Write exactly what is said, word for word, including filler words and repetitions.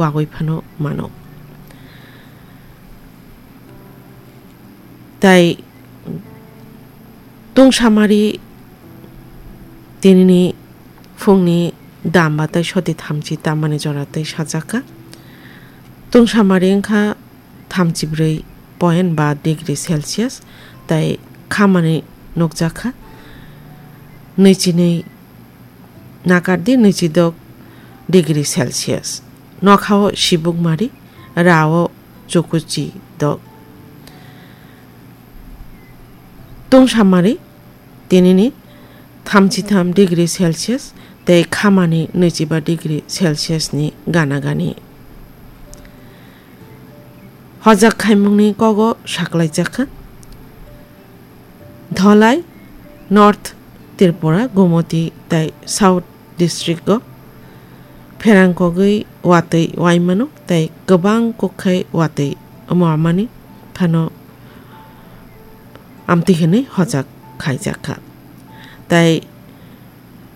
wagwi phano mano. Tai tungsamari tinini phungni damba tai soti thamchi tamani jora tai sajakha. Tungsamari wngkha thamchi brwi point ba degree Celsius, tai khamani nukjakha nwichi nwi nakardi nwichi dok degree Celsius. Nokhao sibukmari, rao chukuchi dok. Tungsamari tinini thamchi tham degree Celsius tei khamani nwichiba degree Celsius ni gana gani. Hojak khaimungni kogo saklaijakha. Dholai, North Tripura, Gomoti tei South District o pherang kogwi watwi waimano tei kwbang kokkhai watwi omo amani phano amtwi hwnwi hojak khaijakha. Tai